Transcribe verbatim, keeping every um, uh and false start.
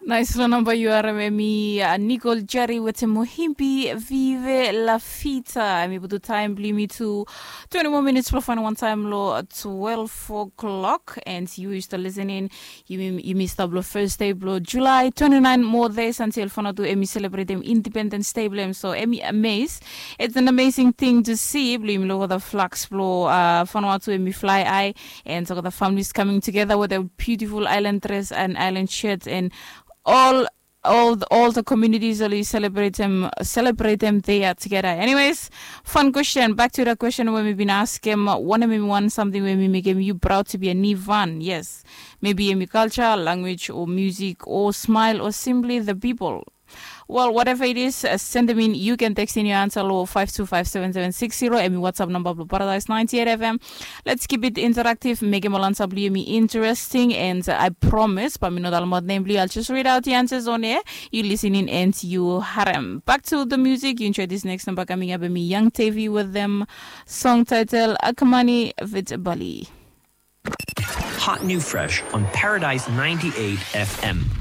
Nais long namba yu harim em i Nicole Jerry wetem Mohimbi Vive La Fita. Em i putum taem blong yumi tu twenty more minutes blong fain wan taem long twelve o'clock. And yu yu stap listening, yumi stap long first day blong July twenty nine more days until Vanuatu em i celebratem Independence Day blong em. So em i amaze. It's an amazing thing to see blong yumi long olgeta flags blong Vanuatu em i fly high. And so the families coming together with a beautiful island dress and island shirt and all all the, all the communities oli celebrate them celebrate them they are together. Anyways, fun question, back to the question we mi bin ask him, one of mi one something we mi make him you proud to be a Nivan. Yes, maybe in culture, language or music or smile or simply the people. Well, whatever it is, uh, send them in. You can text in your answer lo five two five seven seven six zero. Emi WhatsApp number blong Paradise ninety eight F M. Let's keep it interactive. Make him answer blong yumi interesting. And uh, I promise, but mi no talk about name blong you. I'll just read out the answers on air. You listening and you harem. Back to the music. You enjoy this next number coming up. Emi Young Tavi with them. Song title Akamani with Bali. Hot new fresh on Paradise ninety eight F M.